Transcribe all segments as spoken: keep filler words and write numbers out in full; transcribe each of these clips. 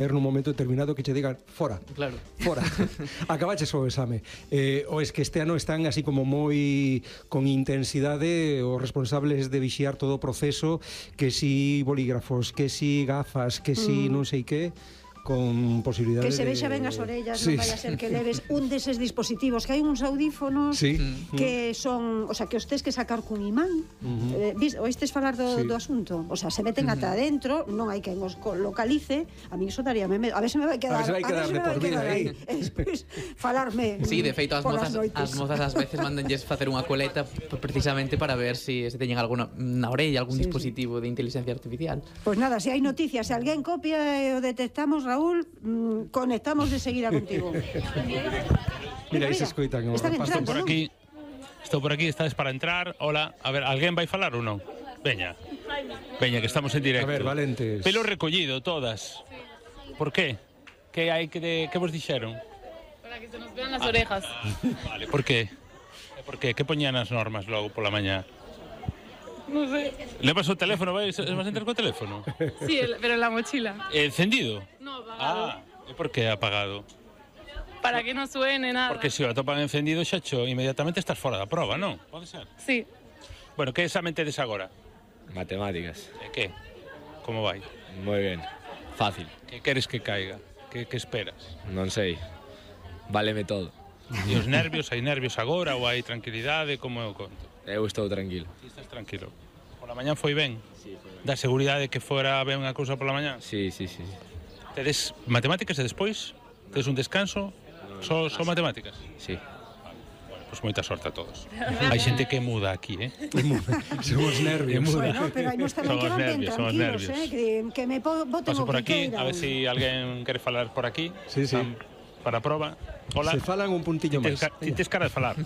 nun momento determinado que che digan fora, claro. fora, acabaches o exame. Eh, o es que este ano están así como moi con intensidade os responsables de vixiar todo o proceso, que si bolígrafos, que si gafas, que si mm. non sei que, con posibilidades que se vexa de... ben as orellas, sí. non vai a ser que leves un deses dispositivos, que hai uns audífonos sí. que son, o sea, que os tes que sacar cun imán. Uh-huh. eh, oístes falar do, sí. do asunto? O sea, se meten uh-huh. ata adentro, non hai quen os localice. A mí eso daríame medo. A ver se me vai quedar, a ver se vai quedar de por vida aí. E despois falarme. Sí, de feito as mozas, as mozas ás veces mandanlles facer unha coleta precisamente para ver se si, se teñen alguna na orella, algún sí, dispositivo sí. de inteligencia artificial. Pois pues nada, se hai noticias, se alguén copia e o detectamos, Raúl, mmm, conectamos de seguida contigo. Mira, aí se escoitan. Estou por aquí, estou por aquí, estades para entrar. Hola, a ver, alguén vai falar ou non? Veña, veña, que estamos en directo. A ver, valentes. Pelo recollido, todas. Por qué? Que hai que, de, que vos dixeron? Para que se nos vean las ah, orejas. Ah, vale, por qué? Por qué? Que poñían as normas logo pola mañá? No sé. ¿Levas o teléfono? ¿Vas a entrar co teléfono? Sí, el, pero en la mochila. ¿Encendido? No, apagado. Ah, ¿y por qué apagado? Para que no suene nada. Porque se o atopan encendido, xacho, inmediatamente estás fora da proba, non? Pode ser? Sí. Bueno, que examen tedes agora? Matemáticas. E que? Como vai? Moi ben. Fácil. Que queres que caiga? Que, que esperas? Non sei. Váleme todo. E os nervios? Hai nervios agora ou hai tranquilidade? Como é o conto? Eu estou tranquilo. Ti estás tranquilo. Pola mañá foi ben? Sí, foi ben. Da seguridade que fora ben unha cousa pola mañá? Sí, sí, sí. Tedes matemáticas e despois? Tedes un descanso? No, só so, so matemáticas? Sí. Bueno, pois pues moita sorte a todos. Hai xente que muda aquí, eh? Son os nervios. Bueno, pero hai nos tamén que van ben tranquilos, eh? Que, que me boten Paso o por que aquí, queiran. a ver si alguén quere falar por aquí. Sí, sí. Para a proba. Hola. Se falan un puntillo máis. Ti tes cara de falar.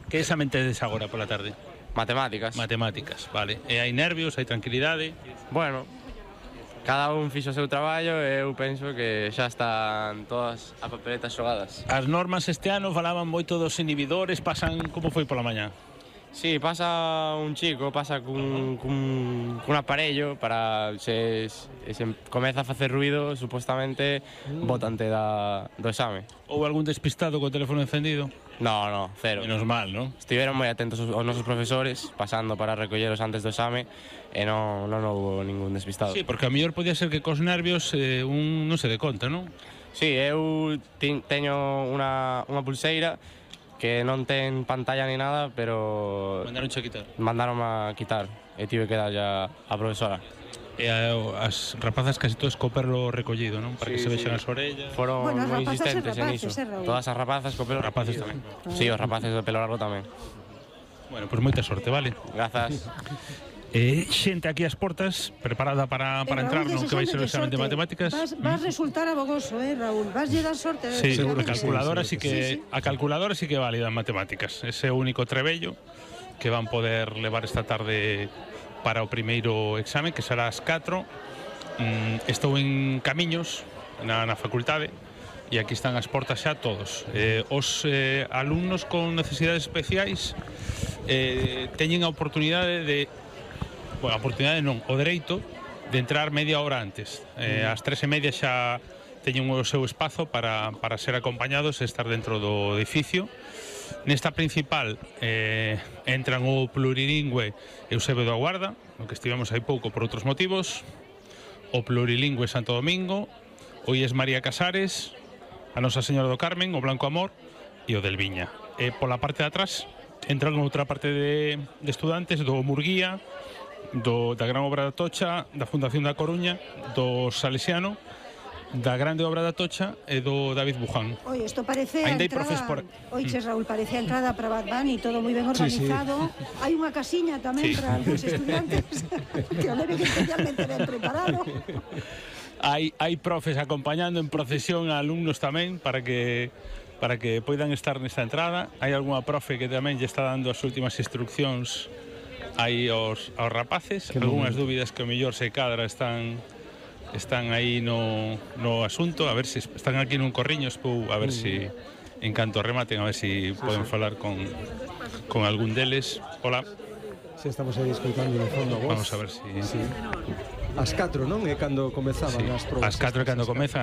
Que examen tedes agora pola tarde? Matemáticas. Matemáticas, vale. E hai nervios, hai tranquilidade? Bueno, cada un fixo o seu traballo e eu penso que xa están todas as papeletas xogadas. As normas este ano falaban moito dos inhibidores, pasan como foi pola mañá? Sí, pasa un chico, pasa cun, cun, cun aparello para se, se comeza a facer ruido, supostamente mm. botante da, do exame. Houve algún despistado co teléfono encendido? No, no, cero. Menos mal, non? Estiveron moi atentos os nosos profesores, pasando para recolleros antes do exame, e non, non houve ningún despistado. Sí, porque a mellor podía ser que cos nervios eh, un non se dé conta, non? Sí, eu ti, teño unha, unha pulseira que non ten pantalla ni nada, pero... Mandaron a quitar? Mandaron a quitar, e tive que darlle a, a profesora. E a, as rapazas casi todas co perro recollido, non? Para sí, que se vexan sí. as orellas. Foron bueno, moi insistentes en iso. Eh, Todas as rapazas co pelo rapaces recollido. tamén. Sí, os rapaces do pelo largo tamén. Bueno, pois pues moita sorte, vale? Grazas. Eh, xente aquí ás portas preparada para, para entrar no que vai ser o examen de matemáticas. Vas, vas resultar abogoso, eh, Raúl. Vas lle dar sorte. Sí, seguro a calculadora sí, sí, que sí, sí. a calculadora sí que válida en matemáticas. Ese único trebello que van poder levar esta tarde para o primeiro examen, que será ás catro. Mm, estou en Camiños, na, na facultade, e aquí están as portas xa todos. Eh, os eh, alumnos con necesidades especiais eh, teñen a oportunidade de Bueno, a oportunidade non, o dereito de entrar media hora antes. Eh, ás tres e media xa teñen o seu espazo para, para ser acompañados e estar dentro do edificio. Nesta principal eh, entran o plurilingüe Eusebio da Guarda, no que estivemos hai pouco por outros motivos, o plurilingüe Santo Domingo, o I E S María Casares, a Nosa Señora do Carmen, o Blanco Amor e o del Viña. E pola parte de atrás entran outra parte de, de estudantes do Murguía, do, da Gran Obra da Tocha, da Fundación da Coruña, do Salesiano, da Grande Obra da Tocha e do David Buján. Oye, isto parece a Ainda entrada... por... Oiche, Raúl, parece a entrada para Bad Bunny, todo moi ben organizado. Sí, sí. Hai unha casiña tamén sí. para os estudiantes que o leven especialmente ben preparado. Hai, hai profes acompañando en procesión a alumnos tamén para que para que poidan estar nesta entrada. Hai algunha profe que tamén lle está dando as últimas instruccións aí aos, aos rapaces. Que algunhas dúbidas que o mellor se cadra están están aí no, no asunto, a ver se están aquí nun corriño, espou, a ver se si, en canto rematen, a ver se si poden falar con, con algún deles. Hola. Se estamos aí escoitando no fondo a voz. Vamos a ver se si... sí. As catro, non? É cando comezaban Sí, as probas. as catro é cando estas, as comezan,